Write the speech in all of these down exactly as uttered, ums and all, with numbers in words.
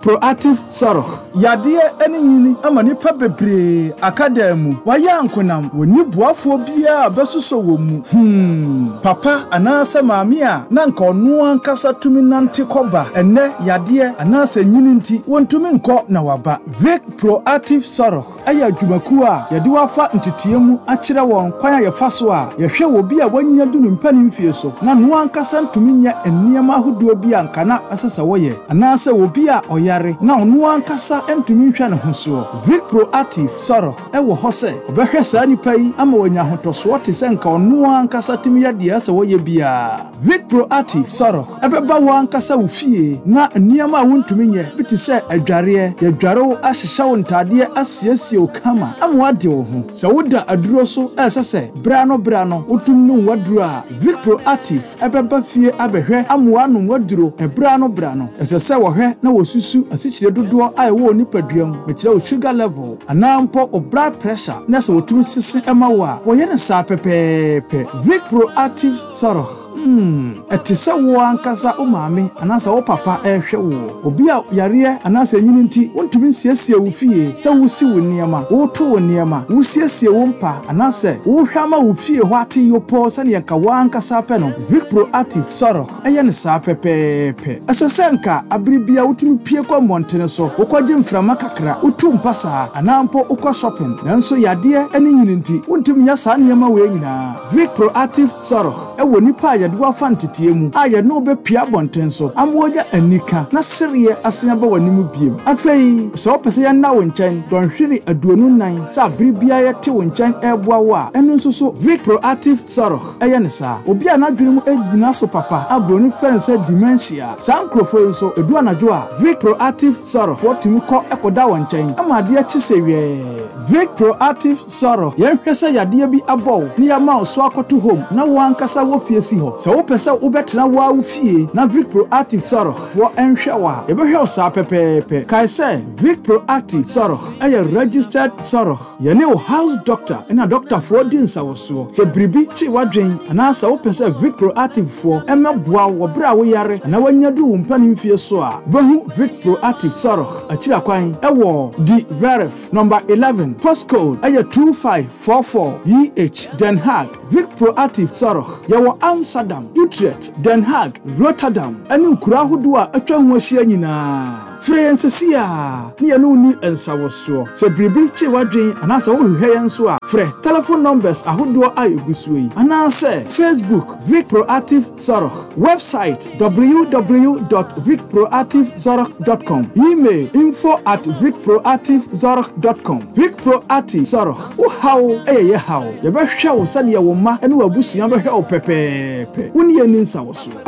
Proactive Zorg. Yadeɛ ne nyini ama nnipa bebree aka dan mu. Wɔayɛ ankonam. Wɔnni boafoɔ biara a bɛsosɔ wɔn mu. Hmm. Papa anaasɛ maame a na nka ɔno ankasa tumi nante kɔba. Ɛnnɛ yadeɛ anaasɛ nyini nti, wɔntumi nkɔ na waba. Vic Proactive Zorg ɛyɛ adwumakuo a yɛde wafa nteteɛ mu akyerɛ wɔn kwan a yɛfa so a yɛhwɛ wɔ bi a wanya du ne mpanin mfie so na no ankasa ntumi nyɛ nneɛma ahodoɔ bi a nka na ɛsɛ sɛ wɔyɛ anaasɛ obi a ɔyare na ɔno ankasa ntumi nhwɛ ne ho soɔ. Vic Proactive Zorg ɛwɔ hɔ sɛ ɔbɛhwɛ saa nipa yi ama wanya ahotɔsoɔ te sɛ nka ɔno ankasa tumi yɛ deɛ ɛsɛ wɔyɛ biara. Vic Proactive Zorg ɛbɛba wɔn ankasa wo fie na nneɛma a wontumi nyɛ bi te sɛ adwareɛ, yɛdware wo, ahyehyɛ wo ntaadeɛ, asiesie wo kama ama woade wo ho. Sɛ woda aduro so ɛsɛ sɛ berɛ no berɛ no wotum nom w'aduro a, Vic Proactive ɛbɛba fie abɛhwɛ ama woanom w'aduro ɛberɛ no berɛ no. Ɛsɛ sɛ wɔhwɛ na wɔsusu asikyire dodoɔ a ɛwɔ wo nipadua mu, mekyerɛ wo sugar level anaa mpo wo blood pressure, na sɛ wɔtumi sese ɛma wo a, wɔyɛ no saa pɛpɛɛpɛ. Vic Proactive Zorg. Hmm, ɛte sɛ wo ankasa wo maame anaasɛ wo papa ɛrehwɛ wo. Obi a yareɛ anaasɛ nyini nti wontumi nsiesie wo fie, sɛ wosi wo nneɛma, woto wo nneɛma, wosiesie wo mpa anaasɛ wohwɛ ama wo fie hɔ ate yopɔ sɛneɛ nka wo ankasa pɛ no, Vic Proactive Zorg ɛyɛ ne saa pɛpɛɛpɛ. Ɛsɛ sɛ nka abere bia wotumi pie kɔ mmɔntene so, wokɔgye mframa kakra, wotu mpa saa anaa mpo wokɔ shopping, nanso yadeɛ ne nyini nti wontumi nyɛ saa nneɛma wei nyinaa. Vic Proactive Zorg ɛwɔ nipa a yɛde wafa nteteɛ mu a yɛne wo bɛpia abɔnten so ama wɔnya anika na sereɛ asen aba w'anim biem. Afei sɛ wopɛ sɛ yɛnna wo nkyɛn dɔnhwere aduonu nan sɛ abere biara yɛte wo nkyɛn ɛreboa wo a, ɛno nso so Vic Proactive Zorg ɛyɛ ne saa. Obi a n'adwene mu gyina so papa a buroni frɛ no sɛ dementia, saa nkurɔfoɔ yi nso edu anadwo a, Vic Proactive Zorg wɔtumi kɔ ɛkɔda wɔn nkyɛn ama adeɛ kye sɛ wiɛɛ. Vic Proactive Zorg, yɛnhwɛ sɛ yadeɛ bi abɔ wo ne yɛama wo so akɔto home na wo ankasa wɔ fie si hɔ. Sɛ wopɛ sɛ wobɛtena wo a wo fie na Vic Proactive Zorg foɔ ɛnhwɛ wo a, yɛbɛhwɛ wo saa pɛpɛɛpɛ. Kae sɛ Vic Proactive Zorg ɛyɛ registered Zorg. Yɛne wo house doctor ɛna doctorfoɔ di nsawɔsoɔ. Sɛ biribi kye w'adwen anaasɛ wopɛ sɛ Vic Proactive foɔ ɛmmɛboa wo wɔ berɛ a woyare anaa woanya du wo mpanin fie so a, wobɛhu Vic Proactive Zorg akyiri akwan ɛwɔ De Werf number eleven, postcode ɛyɛ two five four four E H, Den Haag. Vic Proactive Zorg yɛwɔ Amsterdam, Utrecht, Den Haag, Rotterdam ɛne nkuro ahodoɔ a atwa ho ahyia nyinaa. Frɛ yɛn sesi a ne yɛne wo ni nsawɔsoɔ. Sɛ biribi kye w'adwen anaasɛ wohwehwɛ yɛn nso a, frɛ telephone numbers ahodoɔ a ɛgu soɔ yi anaasɛ Facebook Vic Proactive Zorg, website w w w dot vicproactivezorg dot com, email info at vicproactivezorg dot com. Vic Proactive Zorg, wo haw ɛyɛ yɛ haw. Yɛbɛhwɛ wo sɛdeɛ wo mma ne w'abusua bɛhwɛ wo pɛpɛɛpɛ. Wo ne yɛn ni nsawɔsoɔ.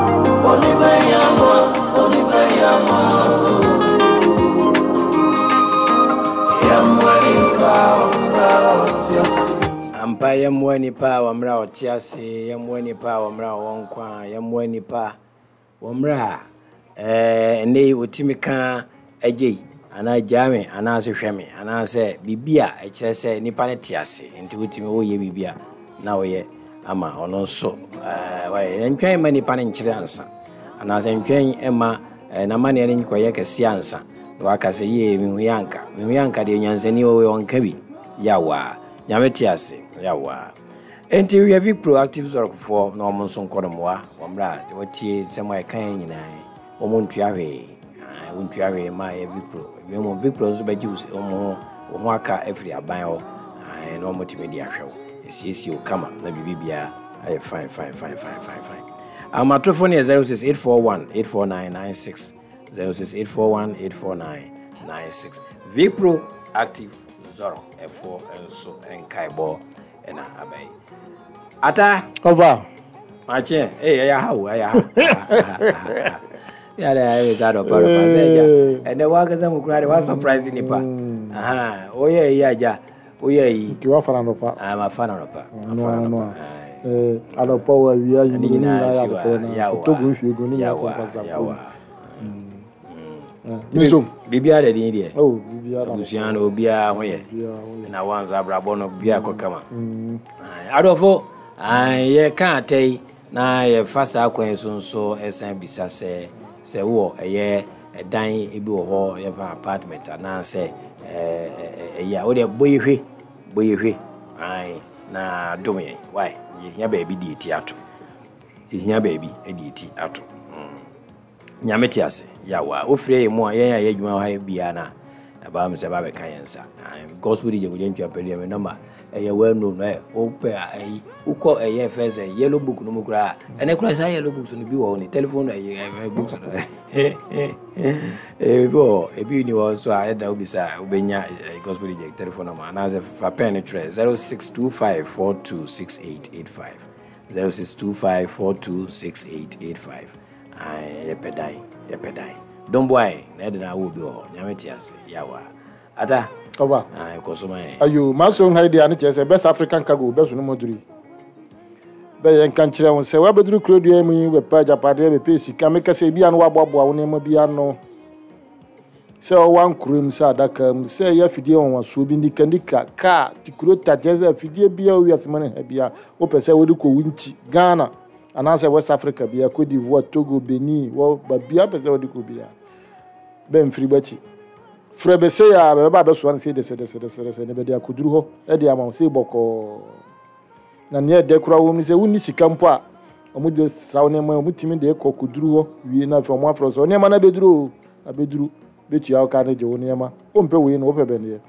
Onibeyamo, onibeyamo. Yamwani pa omra otiasi. Ampa, yɛmmoa nipa a wɔmmerɛ a ɔte ase, yɛmmoa nipa a wɔmmerɛ a ɔwɔ nkwa, yɛmmoa nipa wɔmmerɛ a ɛɛ ɛnɛ yi wɔtumi ka agye yi anaa gyaa me anaasɛ hwɛ me anaasɛ biribi a ɛkyerɛ sɛ nipa no te ase. Nti wotumi woyɛ biribi a na woyɛ ama ɔno nso ɛɛ wayɛ. Ntwɛn ma nipa no nkyerɛ ansa anaasɛ ntwɛn ma ɛɛ n'amanneɛ no nkɔyɛ kɛseɛ ansa na waka sɛ yie, mehu yɛ anka mehu yɛ anka deɛ nyansani wɔ ɔnka bi yawaa. Nyame te ase yawaa. Enti wia Vic Proactive Zorgfoɔ na wɔn nso nkɔ no mmoa wɔn mmerɛ a wɔtie nsɛm a ɛka yɛn nyinaa. Wɔn ntua hwee, wɔn ntua hwee ma yɛ Vic Pro. Mmom Vic Pro nso bɛgye wɔn ho wɔn ho aka afiri aban hɔ na wɔn tumi de ahwɛ wo, esiesie wo kama na biribi biara ayɛ fine fine fine fine fine fine. Ahomatorofoɔ no yɛ zero six eight four one eight four nine nine six, zero six eight four one eight four nine nine six. Vic Pro Active Zorg ɛfoɔ nso nkaebɔ ɛna aba yi ata. Ɔfa. Makye ee, ɛyɛ ha o, ɛyɛ ha yàrá yàrá sá dɔpa dɔpa sɛ ɛgya ɛnɛ wankasa mu kura de wa surprise nipa woyɛ yi agya woyɛ yi. Nti wafa na nɔpa. Ah, ma fa na nɔpa, ma fa na nɔpa. Anɔpa wɔ awia yi ne mu ne nyinaa nyinaa si yɛ wa adekoro na yawa kotogu nhwie gu ne nyinaa yawa kɔ nkasa. Yawa. Me nso. Biribiara da din deɛ. Oh, biribiara. Abusua no obiara ho yɛ. Biribiara ho yɛ. Na wansa abrabɔ no biribiara kɔ kama. Adɔfo, yɛka ata yi na yɛfa saa kwan so nso ɛsan bisa sɛ sɛ wowɔ ɛyɛ Ɛdan bi wɔ hɔ, yɛfa apartment anaasɛ ɛyi a wodeɛ bɔ yɛhwɛ, bɔ yɛhwɛ ae na dom yɛn. Wae, yɛhia baabi de eti ato, yɛhia baabi de eti ato. Nyame te ase. Yawa wofrɛ yɛ mu a, yɛn a yɛ adwuma wɔ ha biara na ɛbaa mi sɛ ɛba bɛka yɛn nsa. Gospel D J Kwadwo Antwi Apɛdeɛ, me number ɛyɛ well known. Ɛ wopɛ ɛyi, wokɔ ɛyɛ fɛ sɛ yellow book no mu koraa, ɛnɛ koraa saa yellow books no bi wɔ hɔ ne telephone ɛyɛ ɛyɛ books no ebi wɔ hɔ, ebi ni hɔ nso a ɛda wobisa a wobɛnya Gospel D J telephone number anaasɛ fa pen no twerɛ zero six two five four two six eight eight five, zero six two five four two six eight eight five. Yɛpɛ dan, yɛpɛ dan. Domboae na ɛde na awo bi wɔ hɔ. Nyame te ase. Yawa ata over. Kɔ so ma yɛn. Ayo maso ha deɛ ne kyerɛ sɛ Best African Cargo bɛso no mɔduru bɛyɛ nka nkyerɛ wo sɛ woabɛduru kuro dua mu yi, wobɛpɛ agyapadeɛ, bɛpɛ sika. Meka sɛ ebia no woaboaboa wo nneɛma bi ano sɛ ɔwɔ ankora mu, sɛ adaka mu, sɛ ɛyɛ afidie nwanwasoɔ bi, ndikanika kaa tikuro ta, kyerɛ sɛ afidie bia owiase mu no ha bia wopɛ sɛ wode kɔ wo nkyi Ghana anaasɛ West Africa bia, Cote d'Ivoire, Togo, Benin, wɔ babia wopɛ sɛ wode kɔ bia, bɛmfiri bɛkyi frɛ bɛsɛ a bɛbɛba abɛsoa no sɛ dɛsɛdɛsɛdɛsɛ ne bɛde akɔduru hɔ ɛde ama wo sɛ bɔkɔɔ. Na nea ɛdɛ koraa wɔ mu sɛ wonni sika mpo a, ɔmo de saa nneɛma ɔmo tumi de kɔ kɔduru hɔ wie na afei ɔmo afrɛ sɛ nneɛma no abɛduru o, abɛduru, bɛtua wo ka ne gye wo nneɛma. Wompɛ wei no, wopɛ bɛn deɛ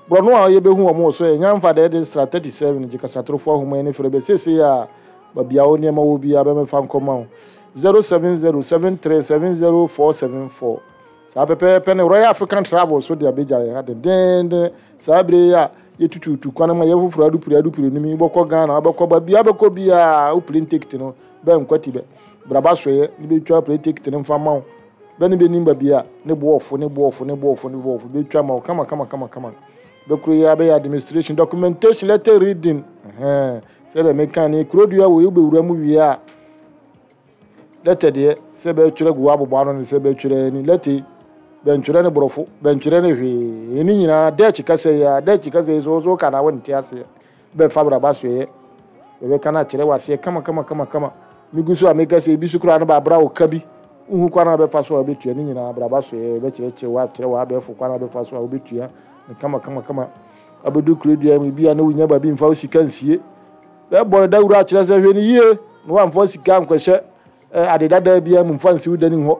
borɔno a yɛbɛhu ɔmo wɔ so yɛ nyamfa deɛ de stra thirty-seven gye kasatorofoɔ ahoma ne frɛ bɛ seesei a baabi a wo nneɛma wɔ biara bɛmɛfa nkɔma wo zero seven zero seven three seven zero four seven four. Saa pɛpɛɛpɛ ne Royal African Travel so de abɛgya yɛn ha dendenden. Saa bere yi a yɛtututu kwan ma yɛfoforɔ adupire adupire no mi wobɛkɔ Ghana, wobɛkɔ baabi a wobɛkɔ biara, wo plane ticket no bɛn nkwati bɛ braba soɛ ne bɛtwa plane ticket no mfa ma wo bɛne bɛnim baabi a ne boɔfo ne boɔfo ne boɔfo ne boɔfo bɛtwa ma wo kama kama kama kama. Bɛkuro yi abɛyɛ administration, documentation, letter reading, sɛdeɛ meka ne kuro dua wɔ wobɛwura mu wie a, letter deɛ sɛ bɛtwerɛ gu abobɔ ano ne sɛ bɛtwerɛ ni letter, bɛntwerɛ ne borɔfo, bɛntwerɛ ne hwee, ɛni nyinaa Dutch kasa yi a Dutch kasa yi so so ka na wɔnte aseɛ, bɛfa braba soɛ bɛbɛka no akyerɛ waseɛ kama kama kama kama. Megu so a meka sɛ ebi so koraa no baabra wo ka bi wohu kwan a bɛfa so a wobɛtua ne nyinaa, braba soɛ bɛkyerɛkyerɛ wo akyerɛ wo abɛɛfo kwan a bɛfa so a wobɛtua ne kama kama kama. Abɛdu kuro dua mu bi a na wonya baabi mfa wo sika nsie, bɛbɔ no dawuro akyerɛ sɛ hwɛ no yie na woamfa sika nkɔhyɛ ade dada biara mu mfa nsi wo dani hɔ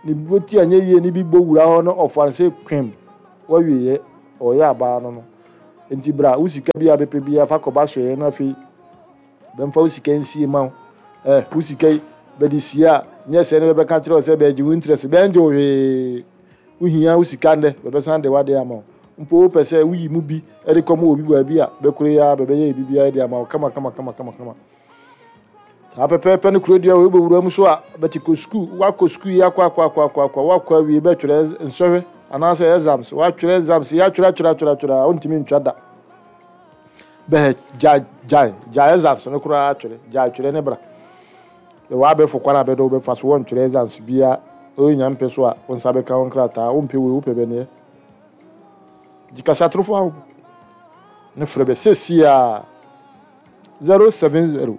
ne boti anyɛ yie ne bi bɔ wura hɔ no ɔfa no sɛ kwem wawieyɛ ɔyɛ abaa no no. Nti bra wo sika bi a bɛpɛ bi afa kɔba soɛ no, afei bɛmfa wo sika nsie ma wo eh wo sika yi bɛde sie a nyɛ sɛ ne bɛbɛka kyerɛ wo sɛ bɛgye wo interest, bɛngye wo hwee. Wohia wo sika ndɛ bɛbɛsan de wade ama wo mpo wopɛ sɛ woyi mu bi de kɔma obi baabi a bɛkoro yi a bɛbɛyɛ biribiara de ama wo kama kama kama kama kama. Saa pɛpɛɛpɛ no kuro dua wɔ wobɛwura mu so a bɛte kɔ sukuu, wakɔ sukuu yi akɔ akɔ akɔ akɔ akɔ wakɔ awie bɛtwerɛ nsɔhwɛ anaasɛ exams, watwerɛ exams yɛatwerɛ atwerɛ atwerɛ atwerɛ a wontumi ntwa da, bɛhɛ gya gya gya exams no koraa atwerɛ gya atwerɛ ne bra bɛwɔ abɛfo kwan a bɛdɛ wobɛfa so wɔntwerɛ exams bia ɔnya mpɛ so a wo nsa bɛka wo nkrataa. Wompɛ wei, wopɛ bɛneɛ gye kasatorofo aho ne frɛ bɛ seesie a zero seven zero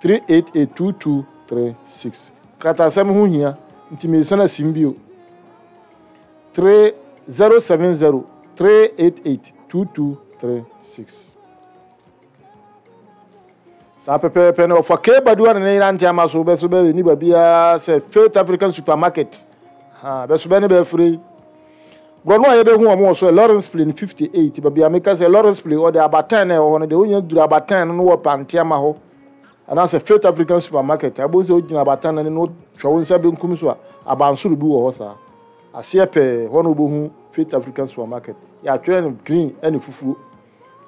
three eight eight two two three six. Kratasɛm ho hia nti mesan asim bio three zero seven zero three eight eight two two three six. Saa pɛpɛɛpɛ no ɔfa kebadu a ne yere ante ama so bɛso bɛ ni baabiara sɛ Faith African Supermarket ha bɛso bɛ ne bɛfiri yi borɔno a yɛbɛhu wɔn wɔ so yɛ Lawrence Plain fifty-eight baabi a meka sɛ Lawrence Plain ɔde abatan na ɛwɔ hɔ no deɛ wonya duru abatan no no wɔ pante ama hɔ anaasɛ Faith African Supermarket abɔ sɛ wogyina abatan no no hwɛ wo nsa benkum so a abansoro bi wɔ hɔ saa aseɛ pɛɛ hɔ no wobɛhu Faith African Supermarket yɛatwerɛ no green ɛne fufuo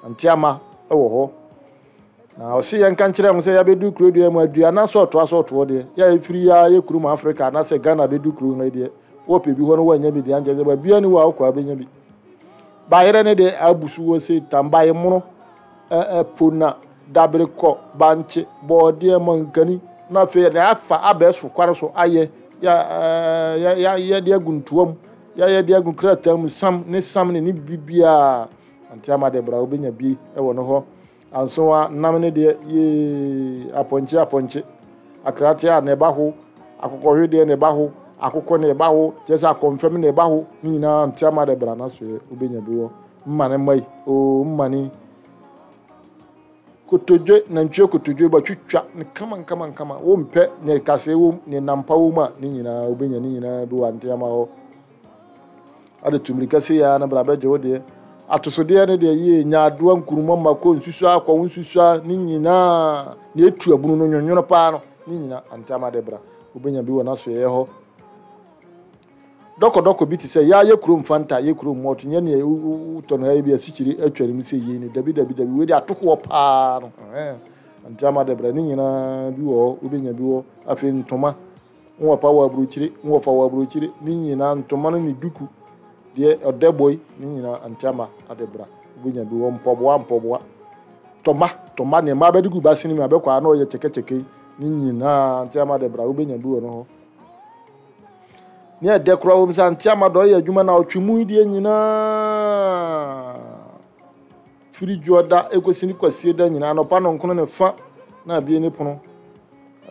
ante ama ɛwɔ hɔ. Na ɔse yɛnka nkyerɛ ho sɛ yɛabɛdu kuro dua mu aduana so ɔtoa so ɔtoɔ deɛ yɛ ɛfiri yɛ yɛ kurom Africa anaasɛ Ghana bɛdu kuro ha deɛ wɔpɛ bi hɔ no wɔanya bi deɛ ankyɛ sɛ baabia ne wɔ a wokɔ a bɛnya bi bayerɛ ne deɛ abu so wɔ se tambaye mono ɛpo na dabere kɔ bankye bɔɔdeɛ mankani na afei yɛde afa abɛɛso kware so ayɛ yɛde agu ntoa mu yɛyɛ de agu krataa mu sam ne sam ne ne biribiara ante ama de bra wobɛnya bi ɛwɔ no hɔ. Anso a nam ne deɛ yee apɔnkye apɔnkye akrate a ne ba ho akokɔhwe deɛ ne ba ho Akokɔ na ɛba hɔ, kyerɛ sɛ akɔmfɛm na ɛba hɔ ne nyinaa Nteama de bra na so wobɛnya bi wɔ mmane mma yi oo mmane kotodwe, nantwie kotodwe batwitwa ne kama nkama nkama. Wompɛ ne kasɛe wom ne nampa wom a, ne nyinaa wobɛnya ne nyinaa bi wɔ Nteama hɔ. Ade tu mmirika sei ara na bra bɛgye wo deɛ. Atosodeɛ no deɛ yie, nyaadoa, nkuruma, mako, nsusua, akɔwo nsusua, ne nyinaa na etu abunu no nwonwono paa no, ne nyinaa Nteama de bra. Wobɛnya bi wɔ n'asoɛeɛ hɔ. Dɔkɔdɔkɔ bi te sɛ yaa yɛ kurom Fanta, yɛ kurom malt, nyɛ nea wotɔ no ha yi bi asikyire atwa ne mu sɛ yei no. Dabi dabi dabi, wei de atokoɔ paa no. Nteama de bra ne nyinaa bi wɔ hɔ, wobɛnya bi wɔ. Afei ntoma, nwɔpa wɔ aburokyire, nwɔfa wɔ aburokyire, ne nyinaa ntoma no ne duku deɛ ɔdɛ bɔ yi, ne nyinaa Nteama ade bra. Wobɛnya bi wɔ mpɔboa mpɔboa. Tɔma, tɔma nea mmaa bɛde gu basene mu abɛkɔ a na ɔyɛ kyɛkɛkyɛkɛ yi, ne nyinaa Nteama de bra, wobɛnya bi wɔ no hɔ. Ne ɛdɛ koraa wɔ mu sɛ Nteama dɔ ɔyɛ adwuma na ɔtwe mu deɛ nyinaa firi dwoɔda ekosi ne kwasie da nyinaa, anɔpa nɔnkono ne fa na abie ne pono,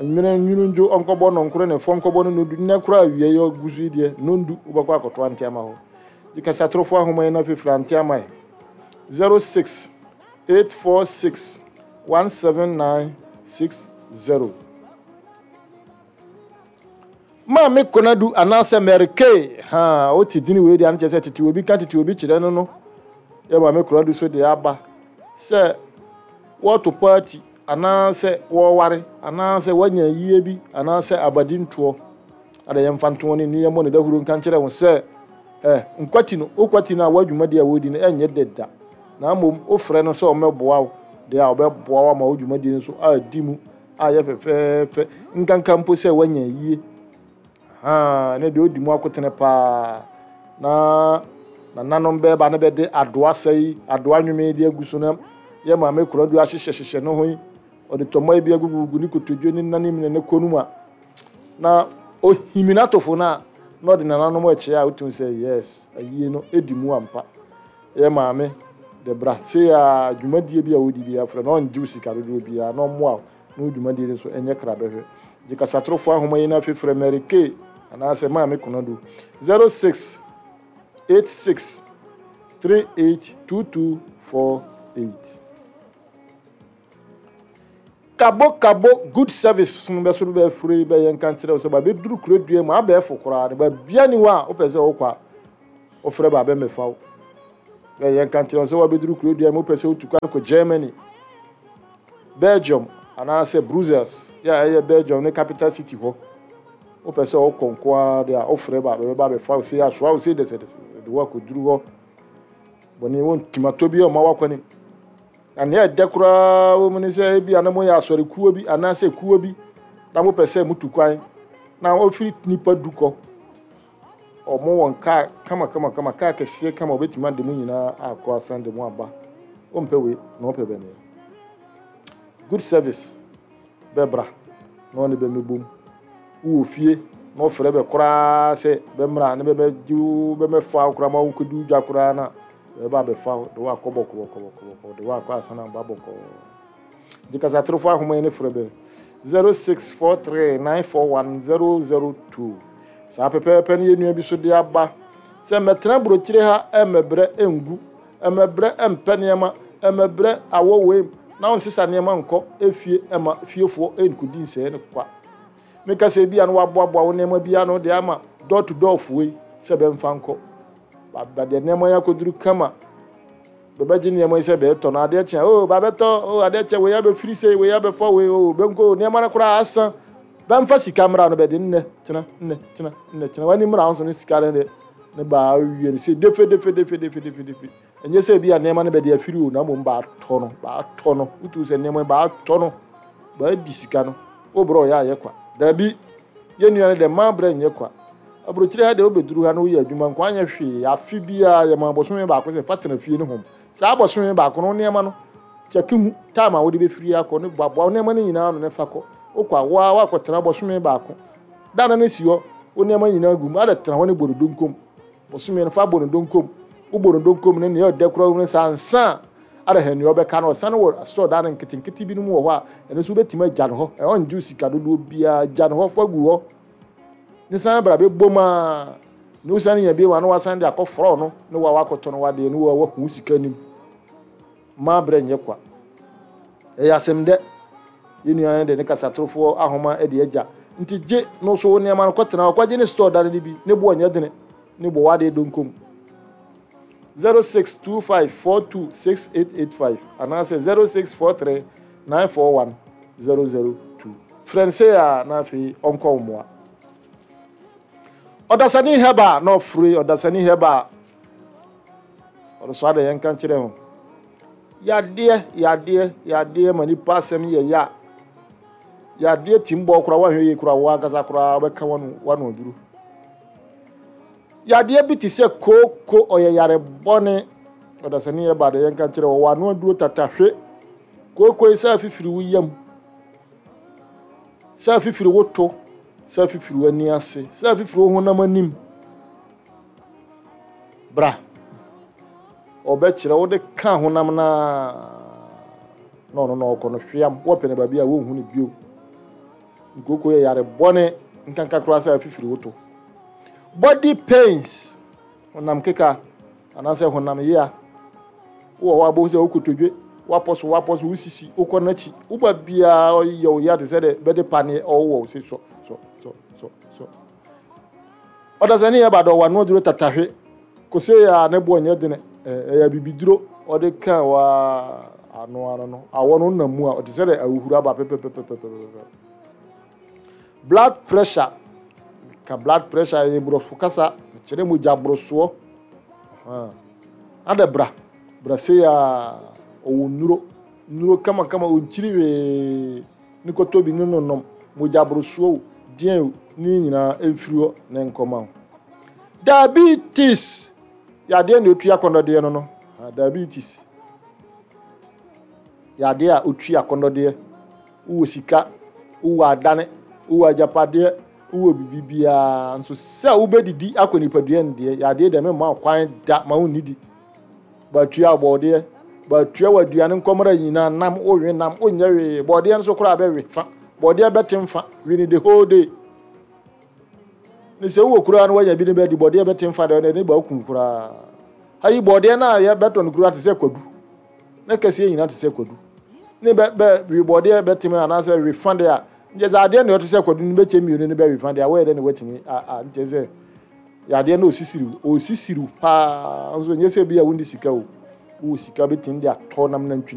nwene nwunu ndwo ɔnkɔbɔ nɔnkoro ne fɔ nkɔbɔ no nondu. Nnɛ koraa awia yi ɔgu so yi deɛ nondu wobɛkɔ akɔto Nteama hɔ. Gye kasatorofo ahoma yi na fefiri Nteama yi zero six eight four six one seven nine six zero. Maame Konadu anaasɛ Mary Kay ha wote dini wei deɛ ano kyerɛ sɛ tete obi ka tete obi kyerɛ no no yɛ Maame Konadu so deɛ aba sɛ wɔto party anaasɛ wɔware anaasɛ wɔanya yie bi anaasɛ abadi ntoɔ ada yɛmfa ntoɔ ne ni yɛmmɔ ne dahuro nka nkyerɛ wo sɛ ɛ nkwati no wokwati no a w'adwumadi a wɔdi no ɛnyɛ deda, na mmom wofrɛ no sɛ ɔmmɛboa wo deɛ a, ɔbɛboa wo ama wo dwumadi no so adi mu ayɛ fɛfɛɛfɛ, nkanka mpo sɛ woanya yie haa ne deɛ ɔdi mu akotene paa na nananom bɛɛba ne bɛde adoa sɛi adoa nwome de agu so na yɛ Maame Koradu ahyehyɛhyehyɛ ne ho yi, ɔde tɔmɔ bi agugugu ne kotodwe ne nanim ne ne kɔn mu a na ohimi n'atofo no a na ɔde nananom akyi a wotumi sɛ yes, ayie no edi mu ampa. Yɛ maame de bra sei a, dwumadie bi a wodi bi afrɛ na ɔngye wo sika dodoɔ biara na ɔmmoa wo na wo dwumadie no so ɛnyɛ kra bɛhwɛ. Gye kasatorofo ahoma yi na afefrɛ Mary Kay anaasɛ Maame Konadu zero six eight six three eight two two four eight. Kabo kabo good service no bɛso bɛfiri yi bɛyɛ nka nkyerɛ wo sɛ babɛduru kuro dua mu abɛɛfo koraa no baabia ni hɔ a wopɛ sɛ wokɔ a wofrɛ ba bɛmmɛfa wo. Bɛyɛ nka nkyerɛ wo sɛ wabɛduru kuro dua mu, wopɛ sɛ wotu kwan kɔ Germany, Belgium anaasɛ Brussels yɛ a ɛyɛ Belgium ne capital city hɔ, wopɛ sɛ wokɔ nko ara deɛ a, wofrɛ ba bɛbɛba bɛfa wo sei asoa wo sei dɛsɛdɛsɛ de wo akɔduru hɔ bɔne wɔntumi atɔ bi a ɔma wakɔ. Na nea ɛdɛ koraa wɔ mu ne sɛ ebi a na moyɛ asɔre kuo bi anaasɛ kuo bi na mopɛ sɛ motu kwan na wɔfiri nipa du kɔ, ɔmo wɔn kaa kama kama kama, kaa kɛseɛ kama, wɔbɛtumi ade mu nyinaa akɔ asan de mu aba. Wɔmpɛ wei na wɔpɛ bɛn good service bɛbra na ɔne bɛmɛbom. Wowɔ fie na ɔfrɛ bɛ koraa sɛ bɛmmra ne bɛbɛgye wo, bɛmɛfa wo koraa ma wonkɔdi dwa koraa na bɛba abɛfa wo de woakɔ bɔkɔbɔkɔbɔkɔ de woakɔ asana ba bɔkɔɔ. Nti kasatorofo ahoma yi ne frɛ bɛ zero six four three nine four one zero zero two. Saa pɛpɛɛpɛ no yɛ nua bi so de aba sɛ mmɛtena burokyire ha, ɛmmɛbrɛ ngu, ɛmmɛbrɛ mpɛ nneɛma, ɛmmɛbrɛ awɔ wei na wɔnsesa nneɛma nkɔ efie ɛma fiefoɔ nkɔdi nsɛɛ no kwa. Meka sɛ ebi a no waboaboa wo nneɛma bi ano de ama door to door foɔ yi sɛ bɛmfa nkɔ ba deɛ nneɛma yi akɔduru kama, bɛbɛgye nneɛma yi sɛ bɛɛtɔ no adeɛ kyea o, babɛtɔ o, adeɛ kyɛ wei abɛfiri sei, wei abɛfa wei o, bɛnko nneɛma no koraa asa, bɛmfa sika mmra no bɛde nnɛ kyena nnɛ kyena nnɛ kyena wani mmra nso ne sika no de ne baa wie no sɛ defe defe defe defe defe defe. Ɛnyɛ sɛ bi a nneɛma no bɛde afiri o, na mmom baatɔ no baatɔ no wotu sɛ nneɛma baatɔ no baadi sika no wobrɛ ɔyɛ ayɛ kwa. Daabi, yɛn nua no dɛ mmaa brɛ nyɛ kwa. Aburokyire ha deɛ, wobɛduru ha na woyɛ adwuma nko anyɛ hwee, afe biara yɛma abɔsome baako sɛ fa tena fie no hom. Saa abɔsome baako no, nneɛma no kyɛke hu time a wode bɛfiri akɔ ne boaboa nneɛma no nyinaa no ne fa kɔ. Wokɔ a woa woakɔtena bɔsome baako da no ne si hɔ, wo nneɛma nyinaa gu mu ada tena hɔ ne bɔ no donkom bɔsome no fa bɔ no donkom. Wobɔ no donkom no nea ɔdɛ koraa no saa nsa a ada ha nea ɔbɛka no ɔsane wɔ store da no nketenkete binom wɔ hɔ a ɛno nso wobɛtumi agya no hɔ, ɛhɔ ngye sika dodoɔ biara, gya no hɔ fa gu hɔ. Ne san bra bɛbɔ mu a ne wosan nya bi ma na wasan de akɔforɔ no ne wa wakɔtɔ no wadeɛ ne wa wahu sika nim ma brɛ nyɛ kwa. Ɛyɛ asɛm dɛ yɛn nua no de ne kasatorofoɔ ahoma de agya nti gye no so wo nneɛma no kɔtena hɔ kɔgye ne store dane no bi ne boɔ nyɛ dene ne bɔ wadeɛ donkom zero six two five four two six eight eight five anaasɛ zero six four three nine four one zero zero two. Frɛ no sei a na afei ɔnkɔ wo mmoa. Ɔdasani hɛba na ɔfure ɔdasani hɛba ɔresɔ adɛ yɛnka nkyerɛ ho. Yadeɛ yadeɛ yadeɛ ma nipa asɛm yɛ ya. Yadeɛ tim bɔ koraa woahwɛ yie koraa wo ankasa koraa wobɛka wano wano aduru. Yadeɛ bi te sɛ kooko ɔyɛ yare bɔne. Ɔdasani hɛba de yɛnka nkyerɛ wɔ wano aduro tatahwe. Kooko yi sɛ afifiri wo yam, sɛ afifiri wo to, sɛ afifiri w'ani ase, sɛ afifiri wo honam anim. Bra. Ɔbɛkyerɛ wode ka honam naa na ɔno na ɔkɔ no hweam. Wɔpɛ no baabi a wonhu no bio. Nkooko yɛ yare bɔne nkanka koraa sɛ afifiri wo to. Body pains, honam keka anaasɛ honam yea. Wowɔ hɔ a wobɛhu sɛ wokotodwe, woapɔ so woapɔ so wosisi wokɔ n'akyi woba biara ɔyɛ wo ya te sɛ dɛ bɛde paneɛ ɔwowɔ wo se sɔ sɔ sɔ sɔ sɔ. Ɔdasani yɛ ba dɔ wano aduro tatahwe kose a ne boɔ nyɛ dene ɛyɛ abibiduro ɔde ka waa ano ano no awɔ no nam mu a ɔte sɛ dɛ ahuhuro aba pɛpɛpɛpɛpɛpɛ. Blood pressure ka blood pressure yɛ borɔfo kasa kyerɛ mogya borosoɔ. Ada bra bra sei a ɔwɔ nnuro nnuro kamakama ɔnkyiri hwee ne kɔtɔ bi ne no nom mogya borosoɔ o deɛn o ne nyinaa ɛmfiri hɔ ne nkɔma wo. Diabetes yadeɛ na otua akɔnnɔdeɛ no no. Diabetes yadeɛ a otua akɔnnɔdeɛ. Wowɔ sika, wowɔ adane, wowɔ agyapadeɛ, wowɔ biribi biara nso sɛ wobɛdidi akɔ nipadua no deɛ yadeɛ deɛ memma wo kwan da ma wonnidi. Baatua bɔɔdeɛ, baatua wɔ aduane nkɔmmra nyinaa nam wowe nam wonyɛ hwee bɔɔdeɛ nso koraa bɛwe fa bɔɔdeɛ bɛte mfa we ne the whole day. Ne sɛ wowɔ koraa no woanya bi ne bɛdi bɔɔdeɛ bɛte mfa deɛ ne ba wokum koraa. Ayi bɔɔdeɛ no a yɛbɛtɔ no koraa te sɛ kwadu na kɛseɛ nyinaa te sɛ kwadu ne bɛ bɛ we bɔɔdeɛ bɛtem anaasɛ we fa deɛ a nkyɛ sɛ adeɛ na ɛte sɛ kwadu no bɛkyɛ mmienu no bɛwe fa deɛ a wɔyɛ dɛ ne watumi a a nkyɛ sɛ yadeɛ no osisiriw osisiriw paa nso nyɛ sɛ bi a wondi sika o wowɔ sika bɛtumi de atɔ nam nantwi.